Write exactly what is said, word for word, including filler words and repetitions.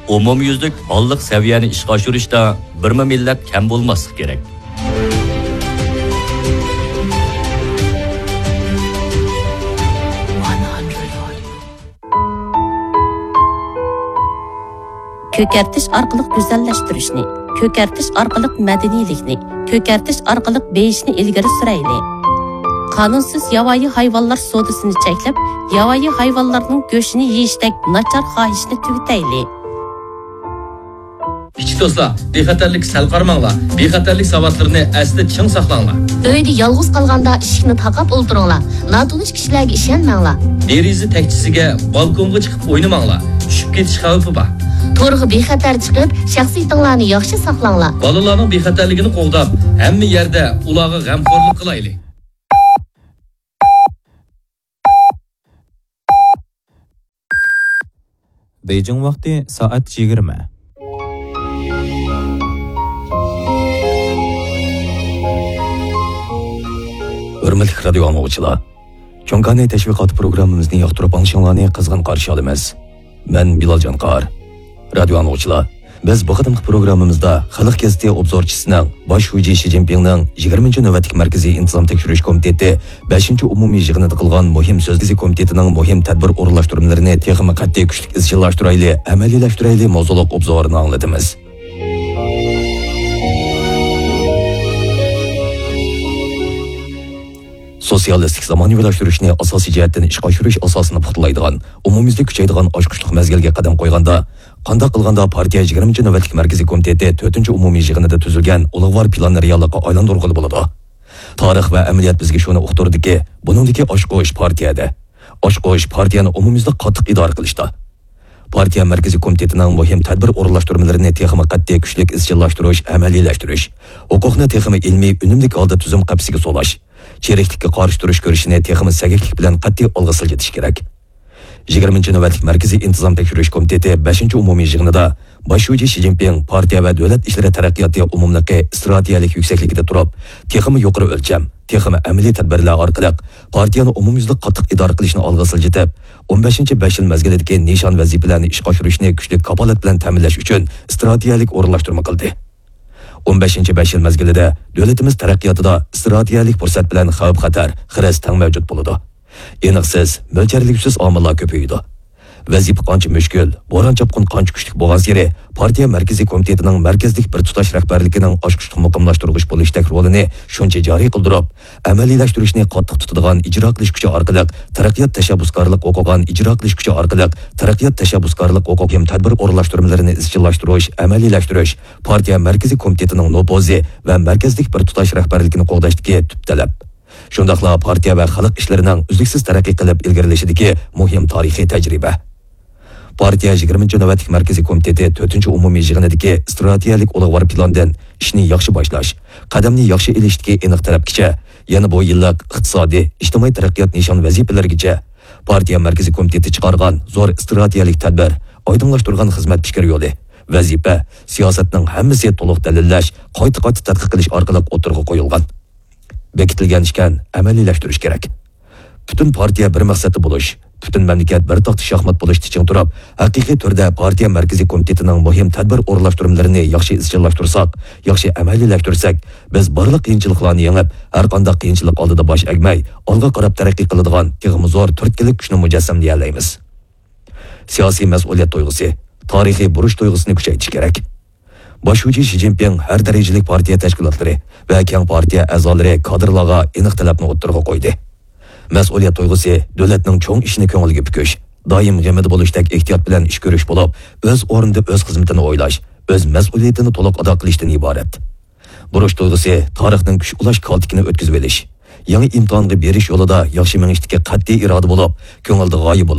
ئومۇميۈزلۈك ھاللىق سەۋىيەنى ئىشقا ئاشۇرۇشتا بىرمۇ مىللەت كەم بولماسلىقى كېرەك. كۆكەرتىش ئارقىلىق گۈزەللەشتۈرۈشنى، كۆكەرتىش ئارقىلىق مەدەنىيلىكنى، كۆكەرتىش ئارقىلىق بېيىشنى ئىلگىرى سۈرەيلى. قانۇنسىز ياۋايى ھايۋانلار سودىسىنى چەكلەپ، ياۋايى ھايۋانلارنىڭ گۆشىنى يېيىشتەك ناچار خاھىشنى تۈگىتەيلى. كىچىك دوستلار، بىخەتەرلىككە سەل قارىماڭلار. بىخەتەرلىك ساۋاتلىرىنى ئەستە چىڭ ساقلاڭلار. ئۆيدە يالغۇز قالغاندا ئىشىكنى تاقاپ ئولتۇرۇڭلار. ناتونۇش كىشىلەرگە ئىشەنمەڭلار. دېرىزە تەكچىسىگە، بالكونغا چىقىپ ئوينىماڭلار. چۈشۈپ كېتىش خەۋپى بار. تورغا بىخەتەر چىقىپ، شەخسىيىتىڭلارنى ياخشى ساقلاڭلار. بالىلارنىڭ بىخەتەرلىكىنى قوغداپ، ھەممە يەردە ئۇلارغا غەمخورلۇق قىلايلى. بېيجىڭ ۋاقتى سائەت يىگىرمە. ھۆرمەتلىك رادىيو ئاڭلىغۇچىلار! چوڭكانى تەشۋىقاتى پروگراممىمىزنى ياقتۇرۇپ ئاڭلىشىڭلارنى قىزغىن قارشى ئالىمىز. مەن بىلال جانقار. رادىيو ئاڭلىغۇچىلار، بىز بۇ قېتىمقى پروگراممىمىزدا خەلق گېزىتى ئوبزورچىسىنىڭ باش شۇجى شى جىنپىڭنىڭ يىگىرمىنچى نۆۋەتلىك مەركىزىي ئىنتىزام تەكشۈرۈش كومىتېتى بەشىنچى ئومۇمىي يىغىنىدا قىلغان مۇھىم سۆزى كومىتېتىنىڭ مۇھىم تەدبىر ئورۇنلاشتۇرمىلىرىنى تېخىمۇ قەتئىي كۈچلۈك ئىزچىللاشتۇرايلى، ئەمەلىيلەشتۈرەيلى ماۋزۇلۇق ئوبزورىنى ئاڭلىتىمىز. سوتسىيالىستىك زامانىۋىلاشتۇرۇشنى ئاساسىي جەھەتتىن ئىشقا ئاشۇرۇش ئاساسىنى پۇختىلايدىغان، ئومۇميۈزلۈك كۈچەيدىغان ئاچقۇچلۇق مەزگىلگە قەدەم قويغاندا، قانداق قىلغاندا پارتىيە يىگىرمىنچى نۆۋەتلىك مەركىزىي كومىتېتى تۆتىنچى ئومۇمىي يىغىنىدا تۈزۈلگەن ئۇلۇغۋار پىلاننى رېئاللىققا ئايلاندۇرغىلى بولىدۇ؟ تارىخ ۋە ئەمەلىيەت بىزگە شۇنى ئۇقتۇردىكى، بۇنىڭدىكى ئاچقۇچ پارتىيەدە. ئاچقۇچ پارتىيەنى ئومۇميۈزلۈك قاتتىق ئىدارە قىلىشتا. پارتىيە مەركىزىي كومىتېتىنىڭ مۇھىم تەدبىر ئورۇنلاشتۇرمىلىرىنى تېخىمۇ قەتئىي كۈچلۈك ئىزچىللاشتۇرۇش، ئەمەلىيلەشتۈرۈش، ھوقۇقنى تېخىمۇ ئىلمىي، ئۈنۈملۈك ھالدا تۈزۈم قەپىسىگە سولاش، چىرىكلىككە قارشى تۇرۇش كۈرىشىنى تېخىمۇ سەگەكلىك بىلەن قەتئىي ئالغا سىلجىتىش كېرەك. يىگىرمىنچى نۆۋەتلىك مەركىزىي ئىنتىزام تەكشۈرۈش كومىتېتى بەشىنچى ئومۇمىي يىغىنىدا باش شۇجى شى جىنپىڭ پارتىيە ۋە دۆلەت ئىشلىرى تەرەققىياتى ئومۇملۇقى ئىستراتېگىيەلىك يۈكسەكلىكىدە تۇرۇپ، تېخىمۇ يۇقىرى ئۆلچەم، تېخىمۇ ئەمەلىي تەدبىرلەر ئارقىلىق پارتىيەنى ئومۇميۈزلۈك قاتتىق ئىدارە قىلىشنى ئالغا سىلجىتىپ، ئون بەشىنچى بەش يىل مەزگىلىدىكى نىشان ۋەزىپىلەرنى ئىشقا ئاشۇرۇشنى كۈچلۈك كاپالەت بىلەن تەمىنلەش ئۈچۈن ئىستراتېگىيەلىك ئورۇنلاشتۇرما قىلدى. ئون بەشىنچى بەش يىل مەزگىلىدە دۆلىتىمىز تەرەققىياتىدا ئىستراتېگىيەلىك پۇرسەت بىلەن خەۋپ-خەتەر، خىرىس تەڭ مەۋجۇت بولىدۇ. ئېنىقسىز، مۆلچەرلىگۈسىز ئامىللار كۆپىيىدۇ. ۋەزىپە قانچە مۈشكۈل، بوران-چاپقۇن قانچە كۈچلۈك بولغانسېرى، پارتىيە مەركىزىي كومىتېتىنىڭ مەركەزلىك بىر تۇتاش رەھبەرلىكىنىڭ ئاچقۇچلۇق مۇقىملاشتۇرغۇچ بولۇشتەك رولىنى شۇنچە جارى قىلدۇرۇپ، ئەمەلىيلەشتۈرۈشنى قاتتىق تۇتىدىغان ئىجرا قىلىش كۈچى ئارقىلىق تەرەققىيات تەشەببۇسكارلىق ھوقۇقىغا ئىجرا قىلىش كۈچى ئارقىلىق تەرەققىيات تەشەببۇسكارلىق ھوقۇقى تەدبىر ئورۇنلاشتۇرمىلىرىنى ئىزچىللاشتۇرۇش، ئەمەلىيلەشتۈرۈش، پارتىيە مەركىزىي كومىتېتىنىڭ نوپۇزى ۋە مەركەزلىك بىر تۇتاش رەھبەرلىكىنى قوغداشتىكى تۈپ تەلەپ. شۇنداقلا پارتىيە ۋە خەلق ئىشلىرىنىڭ ئۈزلۈكسىز تەرەققىي قىلىپ ئىلگىرىلىشىدىكى مۇھىم تارىخىي تەجرىبە. پارتىيە يىگىرمىنچى نۆۋەتلىك مەركىزىي كومىتېتى تۆتىنچى ئومۇمىي يىغىنىدىكى ئىستراتېگىيەلىك ئۇلۇغۋار پىلاندىن ئىشنى ياخشى باشلاش، قەدەمنى ياخشى ئېلىشتىكى ئېنىق تەلەپكىچە، يەنە بۇ يىللىق ئىقتىسادىي، ئىجتىمائىي تەرەققىيات نىشان ۋەزىپىلىرىگىچە، پارتىيە مەركىزىي كومىتېتى چىقارغان زور ئىستراتېگىيەلىك تەدبىر، ئايدىڭلاشتۇرغان خىزمەت پىكىر يولى، ۋەزىپە، سىياسەتنىڭ ھەممىسى تولۇق دەلىللەش، قايتا-قايتا تەتقىق قىلىش ئارقىلىق ئوتتۇرىغا قويۇلغان. بېكىتىلگەن ئىكەن، ئەمەلىيلەشتۈرۈش كېرەك. پۈتۈن پارتىيە بىر مەقسەتتە بولۇش، پۈتۈن مەملىكەت بىر تاختا شاھمات بولۇشتا چىڭ تۇرۇپ، ھەقىقىي تۈردە پارتىيە مەركىزىي كومىتېتىنىڭ مۇھىم تەدبىر ئورۇنلاشتۇرمىلىرىنى ياخشى ئىزچىللاشتۇرساق، ياخشى ئەمەلىيلەشتۈرسەك، بىز بارلىق قىيىنچىلىقلارنى يېڭىپ، ھەرقانداق قىيىنچىلىق ئالدىدا باش ئەگمەي، ئالغا قاراپ تەرەققىي قىلىدىغان تېخىمۇ زور تۈرتكىلىك كۈچنى مۇجەسسەملىيەلەيمىز. سىياسىي مەسئۇلىيەت تۇيغۇسى، تارىخىي بۇرچ تۇيغۇسىنى كۈچەيتىش كېرەك. باش شۇجى شى جىنپىڭ ھەر دەرىجىلىك پارتىيە تەشكىلاتلىرى ۋە كەڭ پارتىيە ئەزالىرى كادىرلارغا ئېنىق تەلەپنى ئوتتۇرىغا قويدى. مەسئۇلىيەت تۇيغۇسى دۆلەتنىڭ چوڭ ئىشىنى كۆڭۈلگە پۈكۈش، دائىم غېمىدە بولۇشتەك ئېھتىيات بىلەن ئىش كۆرۈش بولۇپ، ئۆز ئورنىدا ئۆز خىزمىتىنى ئويلاش، ئۆز مەسئۇلىيىتىنى تولۇق ئادا قىلىشتىن ئىبارەت. بۇرچ تۇيغۇسى تارىخنىڭ كۈچ ئۇلاش كالتىكىنى ئۆتكۈزۈۋېلىش، يېڭى ئىمتىھانغا بېرىش يولىدا ياخشى مېڭىشتىكى قەتئىي ئىرادە بولۇپ، كۆڭۈلدە غايە بولۇش،